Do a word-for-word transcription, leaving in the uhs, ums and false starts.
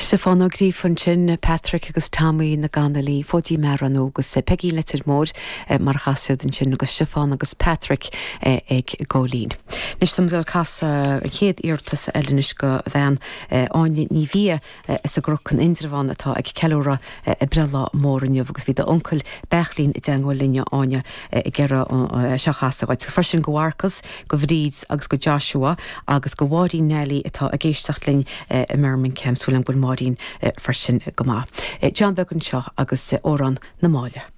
Stiofán Ó Gríofa ansin, Patrick agus Tommy na gConnolly, Fóidín Meadhra agus Peigín Leitir Móir mar a chas siad ansin agus Stiofán agus Patrick ag Góilín. Anois táim ag casadh an chéad iarratas eile anois go bhean Áine Ní Bhia as an gCnoc in Indreabhán atá ag ceiliúradh a breithlá mór inniu agus bhí d'uncail Beachlín i dteagmháil linn Áine ag iarraidh seo a chasadh dhuit. Freisin go Mharcas, go Bhríd agus go Joshua agus go Mháirín Neilí atá ag éisteacht linn i mBirmingham súil agam go bhfuil Máirín freisin go maith. John Beag anseo agus Amhrán na Máille.